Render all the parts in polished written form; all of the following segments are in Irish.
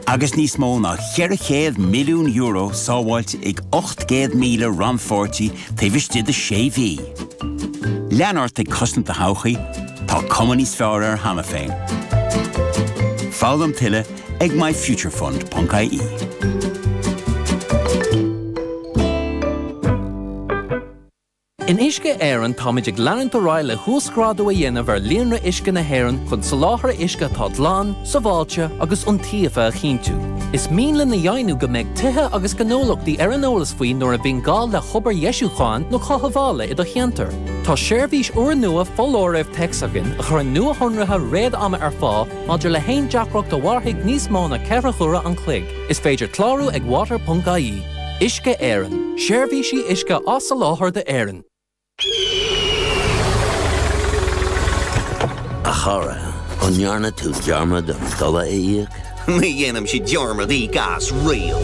Agus níos mó ná €400 milliún sábháilte ag 800,000 rannpháirtí taobh istigh de sé mhí. Lean ort ag cosaint do thodhchaí, tá cuma níos fearr air cheana féin. Foghlaim tuilleadh ag myfuturefund.ie. In Uisce Éireann táimid ag leanúint ar aghaidh le huasghrádú a dhéanamh ar líonra uisce na hÉireann chun soláthar uisce atá glan, sábháilte agus iontaofa a chinntiú. Is mian linn a dheimhniú go mbeidh tithe agus gnólachtaí ar an eolas faoi nuair a bhíonn gá le hobair dheisiúcháin nó chothabhála i do cheantar. Tá seirbhís úrnua foláirimh téacs againn a chuireann nuashonruithe réad-ama ar fáil maidir le haon deacracht a mhairfidh níos mó ná 4 huaire an chloig. Is féidir clárú ag water.ie. Uisce Éireann, seirbhísí uisce á soláthar d'Éirinn. A chara, an ndearna tú dearmad an dola a íoc? Ní dhéanaimse dearmad íoc as riamh.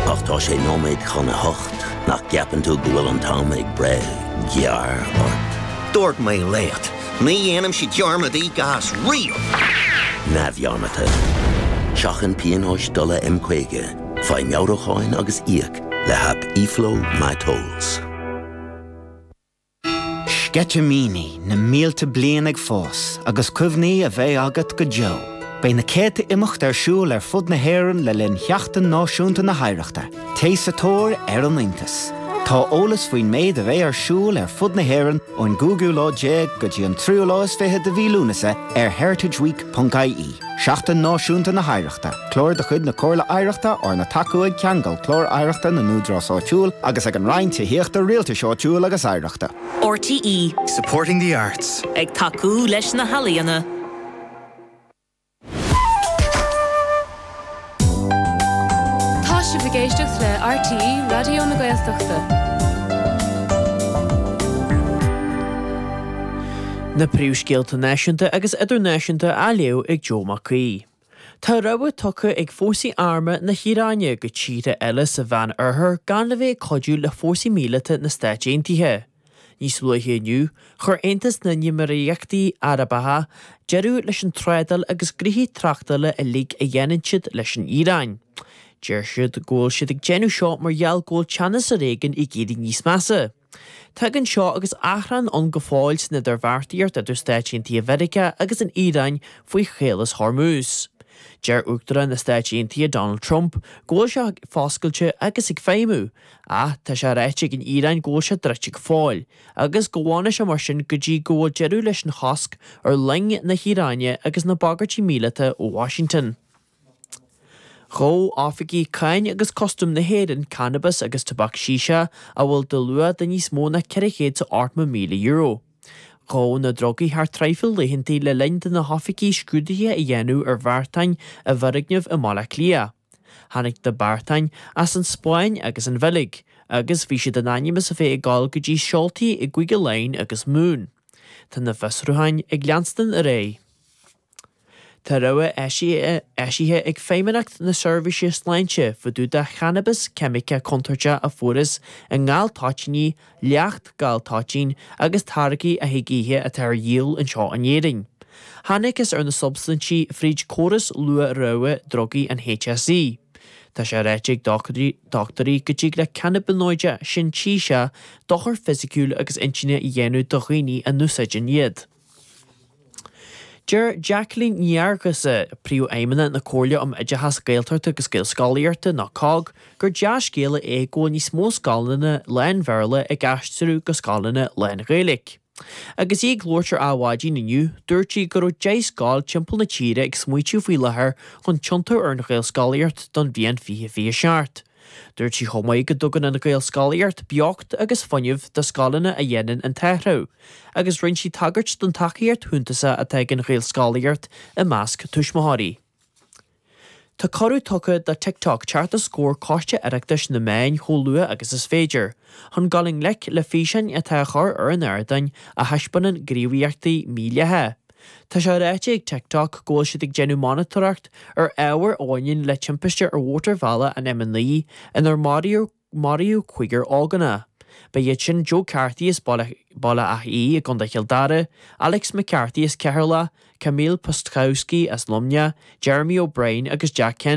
Ach tá sé nóiméad chun a hocht, nach gceapann tú go bhfuil an t-am ag breith gearr ort? Dúirt mé leat, ní dhéanaimse dearmad íoc as riamh! Neamhdhearmadta. Seachain pionóis dola M50. Faigh meabhrúcháin agus íoc le haip eFlow MyTolls. Sceitimíní na mílte bliain ag fás agus cuimhní a bheidh agat go deo. Beidh na céadta imeacht ar siúl ar fud na hÉireann le linn Sheachtain Náisiúnta na hOidhreachta. Téigh sa tóir ar an iontas! Tá eolas faoin méid a bheidh ar siúl ar fud na hÉireann ón gcúigiú lá déag go dtí an tríú lá is fiche de mhí Lúnasa ar heritageweek.ie. Seachtain Náisiúnta na hOidhreachta, clár de chuid na Comhairle Oidhreachta arna tacú ag Ceangal Clár Oidhreachta na nÚdarás Áitiúil agus ag an Roinn Tithíochta, Rialtais Áitiúil agus Oidhreachta. RTÉ. Supporting the arts. Ag tacú leis na healaíona. Tá sibh ag éisteacht le RTÉ Raidió na Gaeltachta. Na príomhscéalta náisiúnta agus idirnáisiúnta á léamh ag Joe Mac Aoidh. Tá rabhadh tugtha ag fórsaí armtha na hIaráine go tíortha eile sa Mheán Oirthear gan a bheith ag cuidiú le fórsaí míleata na Stáit Aontaithe. Níos luaithe inniu, chuir Aontas na nÉimíríochtaí Arabacha deireadh leis an trádáil agus gnoithí tráchtála uilig a dhéanann siad leis an Iaráin. Deir siad go bhfuil siad ag déanamh seo mar gheall go bhfuil teannas ar éigean ag éirí níos measa. Tagann seo agus achrann ann go fóill san idirbheartaíocht idir Stáit Aontaithe Mheiriceá agus an Iaráin faoi Chaolas Hormuz. Deir Uachtarán na Stáit Aontaithe Donald Trump go bhfuil sé foscailte agus ag feidhmiú, Ach tá sé ráite ag an Iaráin go bhfuil sé druidte go fóill, agus go bhfanfaidh sé mar sin go dtí go bhfuil deireadh leis an chosc ar loing na hIaráine agus na bagairtí míleata ó Washington. Ghabh oifigigh Cáin agus Custaim na hÉireann cannabas agus tobac shisha a bhfuil de luach de níos mó ná €480,000. Ghabhadh na drugaí thar traidhfil laethanta le linn do na hoifigigh scrúduithe a dhéanamh ar bheartáin i bhfoirgneamh i mBaile Átha Cliath. Tháinig na beartáin as an Spáinn agus an Bheilg, agus bhí siad in ainm is a bheith ag dul go dtí seoltaí i gCúige Laighean agus Mumhan. Tá na fiosrúcháin ag leanstan ar aghaidh. Tá rabhadh eisithe ag Feidhmeannacht na Seirbhíse Sláinte fá dtaobh de channabas ceimiceach contúirteach a fuarthas i ngal toitíní, leacht gal toitín agus táirgí a thig ithe atá ar dhíol anseo in Éirinn. Thángthas ar na substaintí fríd córas luath-rabhadh drugaí an HSE. Tá sé ráite ag dochtúirí go dtig le cannabinóid sintéiseach dochar fisiciúil agus intinne a dhéanamh do dhaoine a n-úsáideann iad. Deir Jacqueline Ní Fhearghusa, Príomhfheidhmeannach na Comhairle um Oideachas Gaeltachta agus Gaelscolaíochta, nó COGG, gur dea-scéala é go bhfuil níos mó scoileanna lán-Bhéarla ag aistriú go scoileanna lán-Ghaeilge. Agus í ag labhairt ar Adhmhaidin inniu, dúirt sí go raibh 10 scoil timpeall na tíre ag smaoitiú faoi láthair chun tiontú ar an Ghaelscolaíocht don bhliain 2027. Dúirt sí chomh maith go dtugann an Ghaelscolaíocht beocht agus fuinneamh do scoileanna a dhéanann an t-athrú, agus rinne sí tagairt don tacaíocht shuntasach atá ag an Ghaelscolaíocht i measc tuismitheoirí. Tá cuireadh tugtha do TikTok teacht os comhair Coiste Oireachtais na Meán chomh luath agus is féidir, chun dul i ngleic le físeáin atá á chur ar an ardán a thaispeánann gníomhaíochtaí mídhleathacha. Tá sé ráite ag TikTok go bhfuil siad ag déanamh monatóireacht ar ábhar a bhaineann le timpiste ar mhótarbhealach an M9 inar maraíodh maraíodh cúigear ógánach. Ba iad sin Joe Carthy as Baile Átha Í i gContae Chill Dara, Alex McCarthy as Ceatharlach, Kamil Pstkowski as Luimneach, Jeremy O'Brien agus Jack Kennedy.